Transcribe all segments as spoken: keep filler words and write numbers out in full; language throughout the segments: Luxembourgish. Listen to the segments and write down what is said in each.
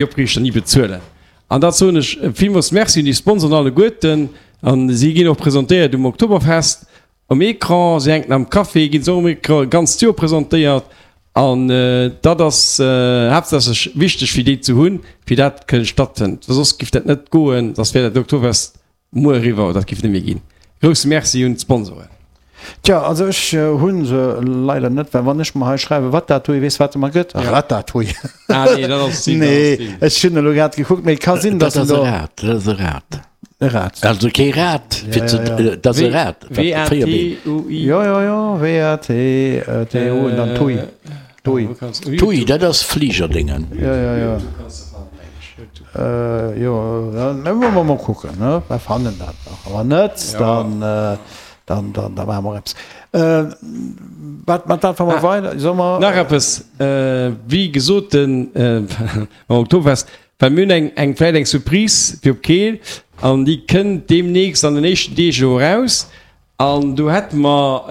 Opriichter ni bezuelen. An dat soen ech villmools Merci un déi Sponsoren alleguerten. An si ginn och presentéiert um Oktoberfest um Ecran. Si hänken am Café, ginn se och um Ecran e ganzt Joer presentéiert. An dat ass haaptsächlech wichteg fir déi ze hunn, fir dat kënne stattfënnt. Well soss giff dat net goen, soss wär dat Oktoberfest muer eriwwer, dat giff net méi ginn. Grousse Merci un d'Sponsoren. Tja, also ech hunn se leider net, well wann ech mer hei schreiwen, wat dat hui, weess wat se mer gëtt? Ratatouille. Ah nee, dat ass nee, nee, ech hunn elo grad gekuckt, mee et ka sinn, dass en do. Dat ass e Rad, dat ass e Rad. E Rad. Also kee Rad, fir ze, dat ass e Rad, wat véier Been. W-A-T-U-I. Jo, jo, jo, W-A-T-T-U en dann Tui. Tui. Tui, dat ass Fligerdéngen. Jo, jo, jo. Jo, da musse mer mol kucken, ne? Mer fannen dat nach. Wann net, dann. Dann, dann, da maache mer eppes. Äh, wat, mat dat wa mer weider, solle mer. Nach eppes, wéi gesot, den am Oktoberfest, well mir hunn eng, eng, vläicht eng Surprise fir op Keel an déi kënnt deemnächst an den éischten Deeg elo eraus. An do hätte mer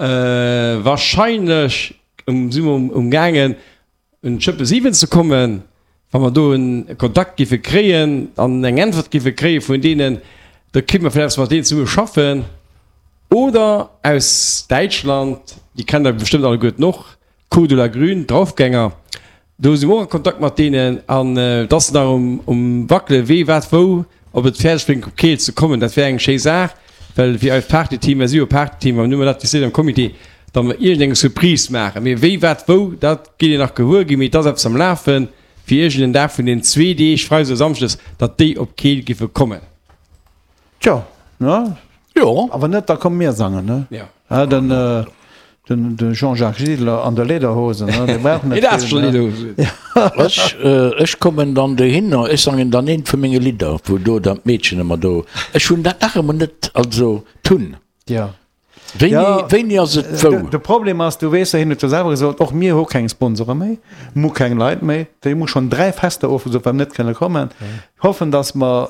wahrscheinlech, si mer umgaangen, un d'Schëppe siwen ze kommen, wa mer do e Kontakt géife kréien an eng Äntwert géife kréie vun deenen, da kéinte mer vläicht eppes mat deenen zesumme schaffen. Oder aus Däitschland, déi kennt Der bestëmmt alleguerten och, Cordula Grün, Draufgänger, do si mer och a Kontakt mat deenen an et ass nach um Wackele wee wat wou, ob et fäerdeg bréngt op Keel ze kommen. Dat wär eng schéi Saach, well fir eist Partyteam, mer si jo e Partyteam, an hu mer dat décidéiert am Comité, datt mer iergendeng Surprise maachen. Mee wéi, wat, wou, dat gitt Dir nach gewuer ginn. Mee et ass eppes am Lafen, fir iergend en Dag vun den zwee Deeg, freides oder samschdes, datt déi op Keel giffe kommen. Tjo, ne? Jo. Awer net, da komme mir sangen, ne? Ja. Ah, den, äh, den, den Jean-Jacques Gidler an der Lederhosen, ne? Dee brauch net vill, ne? Ech, äh, ech kommen dann dohinner, ech sangen dann eent vu menge Lidder, wou do dann d'Meedchen ëmmer do, ech hunn dat nach ëmmer net, also d'Hunn. Ja. Wéini, Ja, wéini ass et wou? De, de Problem ass, du weess, hien huet jo selwer gesot, och mir hu keng Sponsore méi, mir hu keng Leit méi. Déi hu schonn dräi Fester ofgesot, well mer net kënne kommen. Hoffen, datt mer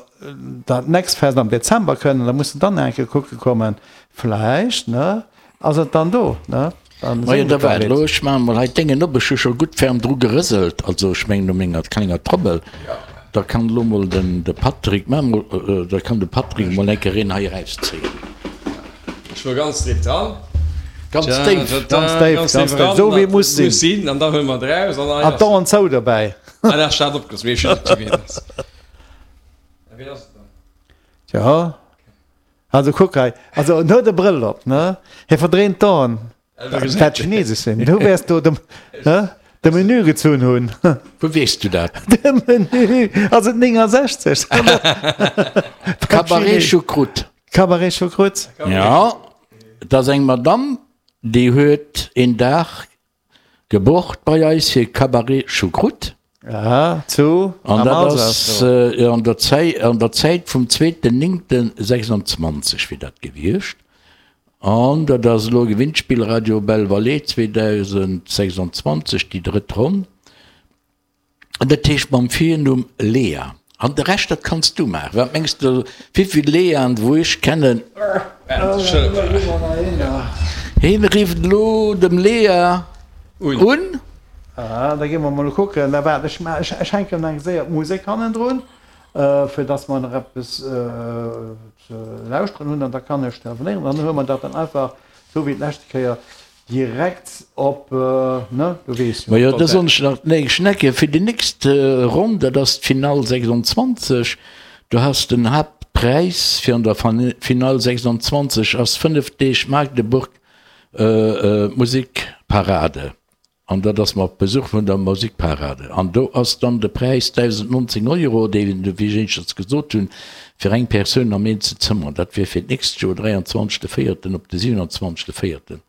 dat nächst Fest am Dezember kënnen, da muss de dann eng Kéier kucke kommen. Vläicht, ne, ass et dann do, ne? Dann Majo, sinn da et da waart Leit. elo, ech maache mol hei d'Déngen op. Ech hu scho gutt ferm dru gerëselt, also ech mengen u menger klenger Trommel. Da kann elo mol den de Patrick, maach mol, da kann de Patrick mol eng Kéier een hei erauszéien. Ech wor ganz déif dran. Ganz déif. Ganz déif, ganz déif, esou wéi et muss sinn. Muss sinn, an da huele mer et eraus an An d'Aen zou dobäi. Ah, dat ass opgeriss, mee ech weess net, wien et ass. Wien ass et dann? Tja, also kuck hei, also en huet e Brëll op, ne? Hie verdréint d'Aen. Dat Chinesesch sinn. Du wäers do de, ne, de Menü gezunn hunn. Wou weess du dat? De Menü ass et néngensechzeg. Cabaret Choucroute. Cabaret Choucroute. Ja, et ass eng Madamm, déi huet een Dag gebucht bei eis fir Cabaret Choucroute. Aha, zu An am dat Alsace ass do. an der Zäit, an der Zäit vum zweeten néngten sechsundzwanzeg wier dat gewiescht. An dat ass elo Gewinnspill Radio Belle Vallée zweedausendsechsundzwanzeg, déi drëtt Ronn. An dat heescht mam Virnumm Lea. An de Rescht, dat kanns du maachen. Wat mengs de, wéivill Leaen, wou ech kennen? Hien rifft elo dem Lea un. Aha, da gi mer mol kucken. Da waart, ech ech hänken eng séier d'Musek hannendrun, fir dass mer nach eppes ze lauschteren hunn an da kann ech telefonéieren. Dann huele mer dat dann einfach, esou wéi d'leschte Kéier, direkt op, ne, du weess jo. Majo, da soen ech nach, nee, Schnecke, fir déi nächst Ronn, dat ass d'Finall sechsundzwanzeg, do has den Haaptpräis fir an der Finall sechsundzwanzeg ass fënnef Deeg Magdeburg Musikparade. An dat ass mat Besuch vun der Musikparade. An do ass dann de Präis dausendnonzéng Euro, dee, wéi ech éischters gesot hunn, fir eng Persoun am eenzel Zëmmer. Dat wier fir d'nächst Joer, dräianzwanzegste Véierten op de siwenanzwanzegste Véierten.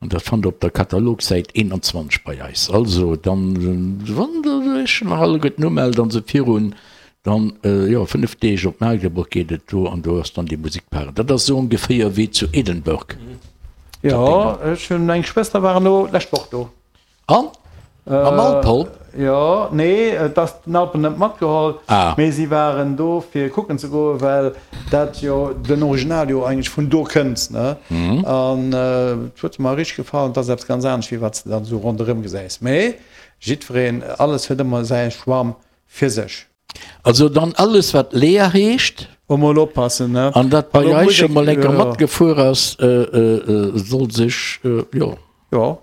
An dat fannt Der op der Katalogsäit eenanzwanzeg bei eis. Also dann, wann Der Iech nach alleguerten umellt an se virun dann, jo, fënnef Deeg op Magdeburg geet et do an do ass dann déi Musikparade. Dat ass esou ongeféier wéi zu Edinburgh. Jo, ech hunn eng Schwëster war elo d'lescht Woch do. An? Mam Alpol? Jo, nee, et ass den Alpol net matgeholl, mee si waren do fir kucken ze goen, well dat jo den Original jo eigentlech vun do kënnt, ne? An et huet mer richteg gefall, et ass eppes ganz anescht wéi wat s de dann esou ronderëm gesäis. Mee jiddwereen, alles huet ëmmer säi Schwamm. fir sech. Also dann alles wat Lea heescht. Emol oppassen, ne? An dat bei eis scho mol enker matgefuer ass, soll sech, jo. Jo.